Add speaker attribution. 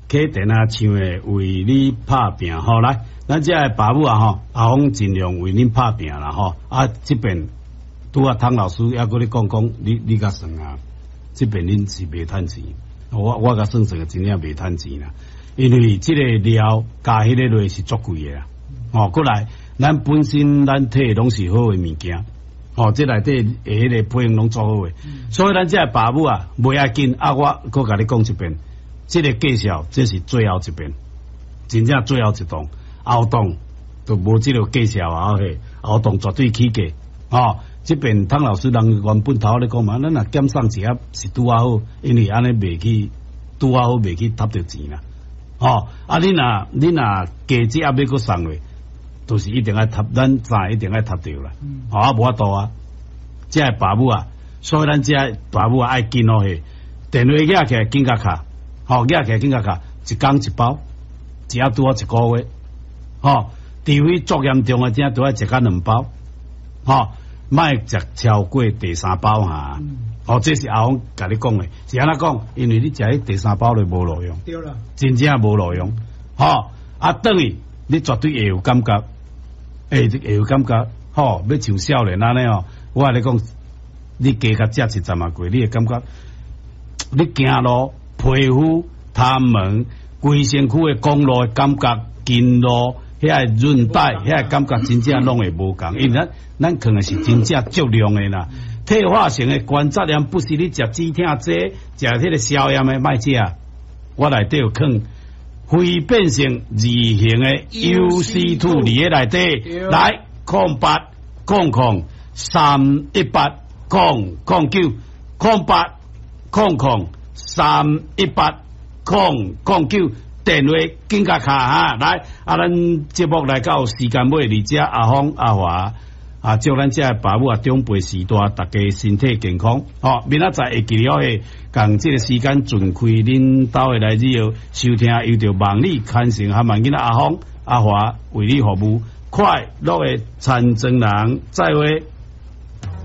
Speaker 1: 啟田啊唱的為你拍拚吼，來，咱遮的爸母啊吼，阿峰盡量為恁拍拚啦吼。啊，這邊拄仔湯老師猶閣咧講講，你較算啊，這邊恁是袂趁錢，我共算算真正袂趁錢啦，因為這個料加彼个落是足貴的啦。哦，過來，咱本身咱提的攏是好的物件，哦，這內底的彼个配方攏做好的，所以咱遮的爸母啊，袂要緊啊，我閣共你講一遍。這个介紹，這是最後一遍，真正最後一檔，後檔就無這个介紹啊！嘿，後檔絕對起價，哦，這邊湯老師人原本頭咧講嘛，咱若減送一盒是拄仔好，因為按呢袂去拄仔好袂去擸著錢啦，哦，啊你若加這盒欲閣送落，就是一定愛擸，咱知一定愛擸著啦，哦，啊無法度啊，遮的爸母啊，所以咱遮爸母啊愛緊哦嘿，電話拿起來緊共敲。吼，拿起來緊共敲，一工一包，一盒拄好一個月，吼，除非足嚴重的，才拄愛食甲兩包，吼，莫食超過第三包哈。哦，這是阿峰共你講的，是按怎講？因為你食彼第三包就無路用，
Speaker 2: 對啦，
Speaker 1: 真正無路用，吼，啊，轉去你絕對會有感覺，會有感覺，吼，欲像少年按呢哦，我共你講，你加共食一陣仔過，你會感覺你行路，皮膚、頭毛、規身軀的公路的感覺、筋路、遐个韌帶、遐个感覺真正攏會無仝，因為咱囥的是真正足量的啦。退化性的關節炎不是你食止痛劑、食彼个消炎的，莫食。我內底有囥非變性二型的 UC2 佇咧內底，來0800318009，0800318009，電話緊共敲哈，來，啊，咱節目來到時間尾，佇遮阿峰阿華啊，祝咱遮爸母啊長輩序大，大家身體健康。吼，明仔載會記得彼，仝這个時間準開恁兜的來以後收聽，由著望你牽成和萬囡仔阿峰阿華為你服務，快樂的田莊人，再會。